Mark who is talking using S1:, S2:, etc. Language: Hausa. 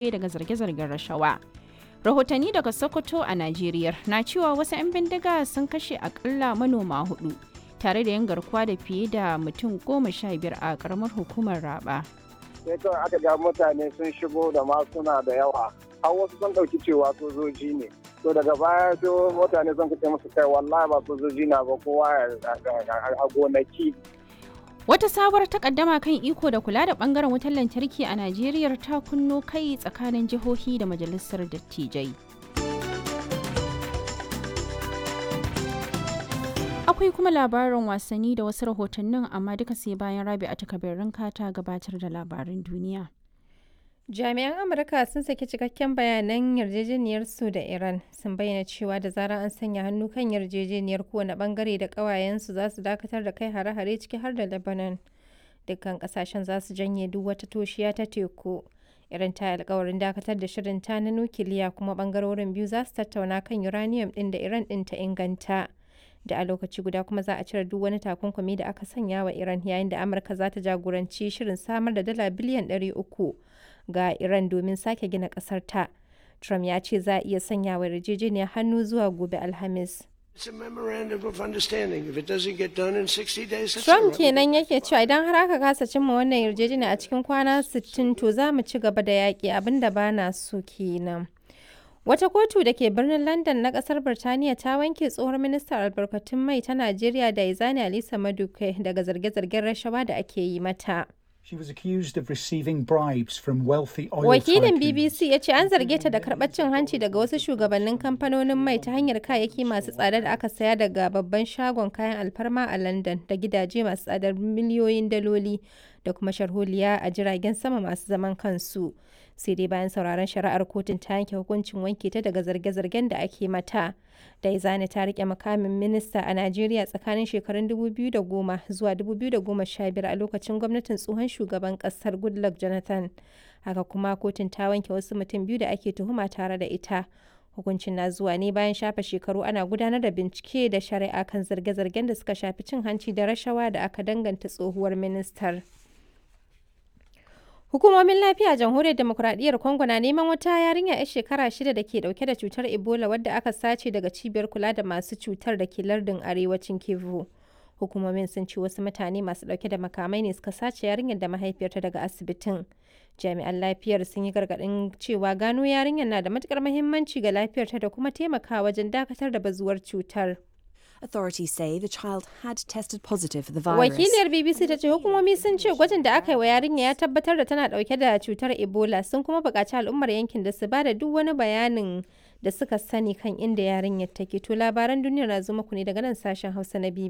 S1: Daga zarge-zargen rashawa. Rahotanni daga Sokoto a Najeriya na cewa wasu 'yan bindiga sun kashe akalla manoma hudu tare da yin garkuwa da fiye da mutum 15 a karamar hukumar Raba.
S2: Sai kawai aka ga mutane sun shigo da masuna da yawa, har wasu sun ɗauki cewa sojoji ne. To daga baya sai mutane sun kace musu, kai, wallahi ba sojoji na ba, kowa a gonaki.
S1: Wata sabuwar takaddama kan iko da kula da bangaren wutar lantarki a Najeriya ta kunno kai tsakanin jihohi da majalisar dattijai. Akwai kuma labarin wasanni da wasu rahotannin, amma duka sai bayan Rabi a takabirin ta gabatar da labarin duniya.
S3: Jami'an Amurka sun saki cikakken bayanan yarjejeniyarsu da Iran, sun bayyana cewa da zarar an sanya hannu kan yarjejeniyar, kowane bangare da ƙawayensu za su dakatar da kai hare-hare, ciki har da Lebanon. Dukkan ƙasashen za su janye duk wata toshiya ta teku. Iran ta yi alkawarin dakatar da shirin ta na nukiliya, kuma bangarorin biyu za su tattauna kan uranium ɗin da Iran ɗin ta inganta. Da a lokaci guda kuma za a cire duk wani takunkumi da aka sanya wa Iran, yayin da Amurka za ta jagoranci shirin samar da dala biliyan 300 ga Iran domin sake gina kasar ta. Trump ya ce za a iya sanya wa yarjejeniyar hannu zuwa gobe Alhamis. Trump kenan yake cewa idan har aka kasa cimma wannan yarjejeniya a cikin kwana 60, to za mu ci gaba da yaƙi, abinda ba na so kenan. Wata kotu da ke birnin London na kasar Birtaniya ta wanke tsohon ministan albarkatun mai ta Najeriya da Izani Alisa Maduke daga zarge-zargen rashawa da ake yi mata.
S4: She was accused of receiving bribes from wealthy oil
S3: Wakilin
S4: tycoons.
S3: BBC ya ce an zarge ta da karɓar cin hanci daga wasu shugabannin kamfanonin mai ta hanyar kayayyaki masu tsada da aka saya daga babban shagon kayan alfarma a London, da gidaje masu tsadar miliyoyin daloli, da kuma sharholiya a jiragen sama masu zaman kansu. Sai dai bayan sauraron shari'ar, kotun ta yanke hukuncin wanke ta daga zarge-zargen da ake mata. Daizani ta rike mukamin minista a Najeriya tsakanin shekarun 2010 zuwa 2015 a lokacin gwamnatin tsohon shugaban kasar Goodluck Jonathan. Haka kuma kotun ta wanke wasu mutum biyu da ake tuhuma tare da ita. Hukuncin na zuwa ne bayan shafe shekaru ana gudanar da bincike da shari'a kan zarge-zargen da suka shafi cin hanci da rashawa da aka danganta tsohuwar ministar. Hukumomin lafiya a Jamhuriyar Demokuraɗiyyar Congo na neman wata yarinya 'yar shekara 6 da ke dauke da cutar Ebola wadda aka sace daga cibiyar kula da masu cutar da ke lardin arewacin Kivu. Hukumomin sun ce wasu mutane masu dauke da makamai ne suka sace yarinyar da mahaifiyarta daga asibitin. Jami'an lafiyar sun yi gargaɗin cewa gano yarinyar na da matukar muhimmanci ga lafiyarta da kuma taimakawa wajen dakatar da bazuwar cutar.
S5: Authorities say the child had tested positive for the virus.
S3: Wakiliyar BBC ta ce hukumomi sun ce gwajin da aka yi wa yarinya ya tabbatar da tana dauke da cutar Ebola, sun kuma buƙaci al'ummar yankin da su ba da duk wani bayanin da suka sani kan inda yarinyar take. To labaran duniya na zo muku ne daga nan sashen Hausa na BBC.